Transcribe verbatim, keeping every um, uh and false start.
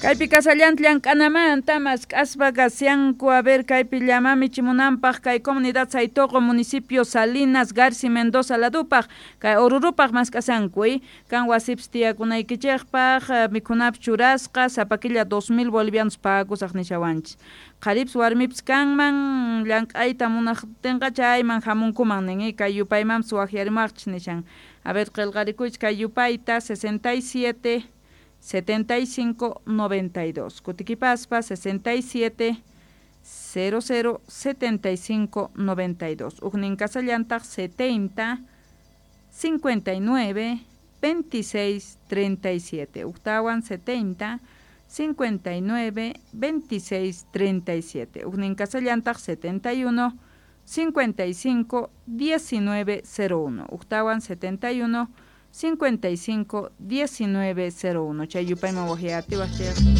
Kaypi kasallanta llank'anamanta mask'aspa kashanku. A ver, kaypi llama michimunanpaq kay comunidad Saytoqo, municipio Salinas Garci Mendoza ladupaq, kay Orurupaq mask'asanku, kan wasipis tiyakunaykichikpaq, mikhunapis churasqa, sapa killa dos mil bolivianos pagakusaq nishawanchis. Qharipis warmipis kanman, llank'ayta munaqtinqa chayman hamunkuman nin, kay yupaymanpis waqyarimuwaqchis nishan. A ver, qillqarikuychis kay yupayta: sesenta y siete setenta y cinco noventa y dos. Kutikipaspa sesenta y siete cero cero setenta y cinco noventa y dos. Ujnin kasallantaq setenta cincuenta y nueve veintiséis treinta y siete. Ujtawan setenta cincuenta y nueve veintiséis treinta y siete. Ujnin kasallantaq setenta y uno cincuenta y cinco diecinueve cero uno. Ujtawan setenta y uno cincuenta y cinco diecinueve cero uno. Chay yupayman waqyatiwaq.